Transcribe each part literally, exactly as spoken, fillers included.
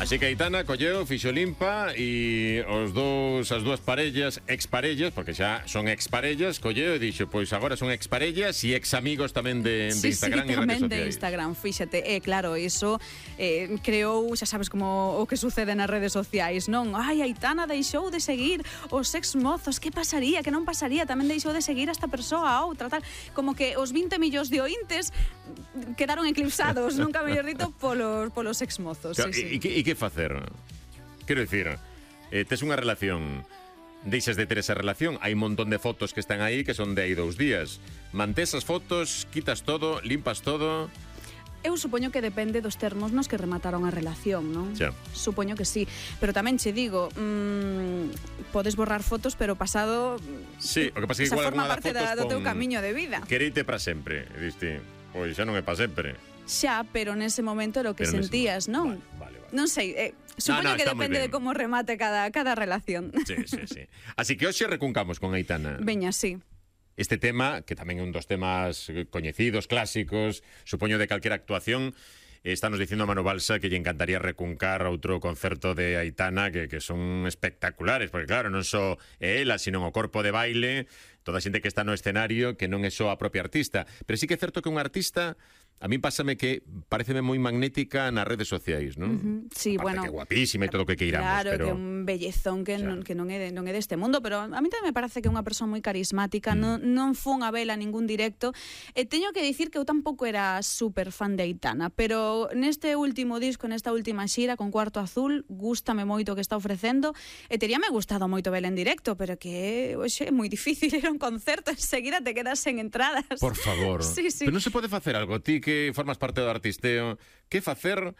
Así que Aitana colleu, fixo limpa e os dous, as dúas parellas, exparellas, porque xa son exparellas, colleu e dixo, pois agora son exparellas e examigos tamén de, sí, de Instagram sí, e redes tamén sociais. de Instagram, fíxate, é eh, claro, iso eh, creou, xa sabes como o que sucede nas redes sociais, non? Ai, Aitana deixou de seguir os exmozos, que pasaría, que non pasaría, tamén deixou de seguir a esta persoa a outra, tal, como que os vinte millóns de ointes quedaron eclipsados, nunca mellor dito, polos, polos exmozos. Claro, sí, e, sí. e, que, e que facer? Quero dicir, eh, tes unha relación, deixas de ter esa relación, hai un montón de fotos que están aí que son de aí dous días. Mantés as fotos, quitas todo, limpas todo. Eu supoño que depende dos termos nos que remataron a relación, non? Xa. Supoño que sí, pero tamén che digo, mmm, podes borrar fotos, pero pasado Sí, o que pasa é que esa igual forma alguna parte das fotos da, do teu pon camiño de vida. quereite para sempre. E diste, pois xa non é para sempre. Xa, pero nese momento era o que Pero nese sentías, non? Vale, vale, vale. Non sei, eh, supoño no, que está moi depende ben. de como remate cada, cada relación. Sí, sí, sí. Así que hoxe recuncamos con Aitana. Veña, sí. Este tema, que tamén é un dos temas coñecidos, clásicos, supoño de calquera actuación, Estános dicindo a Manu Balsa que lle encantaría recuncar outro concerto de Aitana que, que son espectaculares, porque claro, non só é ela, sino o corpo de baile, toda a xente que está no escenario, que non é só a propia artista. Pero sí que é certo que un artista, a mí pásame que pareceme moi magnética nas redes sociais, non? Uh-huh. Sí, aparte bueno, que guapísima e todo o que queiramos, claro, pero... que é un bellezón que, xa. non, que non, é de, non é deste mundo, pero a mí tamén me parece que é unha persoa moi carismática, mm. non, non fun a vela ningún directo, e teño que dicir que eu tampouco era super fan de Aitana, pero neste último disco, nesta última xira con Cuarto Azul, gústame moito o que está ofrecendo, e teríame gustado moito vela en directo, pero que oxe, é moi difícil ir a un concerto, enseguida te quedas sen entradas. Por favor. Sí, sí. Pero non se pode facer algo, ti que formas parte do artisteo, que facer...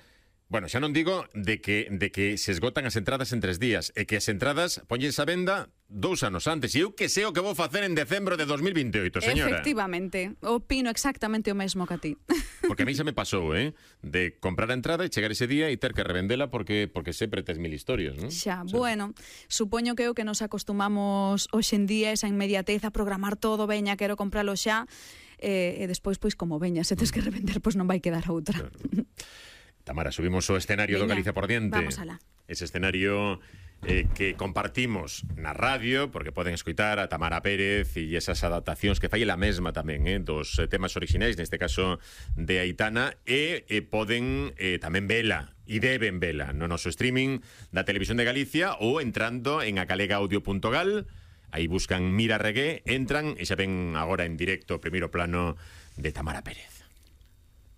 Bueno, xa non digo de que, de que se esgotan as entradas en tres días, e que as entradas poñense a venda dous anos antes, e eu que sei o que vou facer en decembro de dos mil veintioito, señora. Efectivamente, opino exactamente o mesmo que a ti. Porque a mí xa me pasou, eh, de comprar a entrada e chegar ese día e ter que revendela porque porque sempre tes mil historias, non? Xa, Sí. bueno, supoño que é o que nos acostumamos hoxe en día, esa inmediatez a programar todo, veña, quero compralo xa, e, e despois, pois, como veña, se tes que revender, pois non vai quedar outra. Claro. Tamara, subimos o escenario do Veña, Galicia por diante. vamos alá. Ese escenario eh, que compartimos na radio, porque poden escoitar a Tamara Pérez e esas adaptacións que fai ela mesma tamén, eh, dos eh, temas orixinais, neste caso de Aitana, e eh, poden eh, tamén vela, e deben vela, no noso streaming da Televisión de Galicia ou entrando en acalegaudio punto gal. Aí buscan Mira Reggae, entran e xa ven agora en directo o primeiro plano de Tamara Pérez.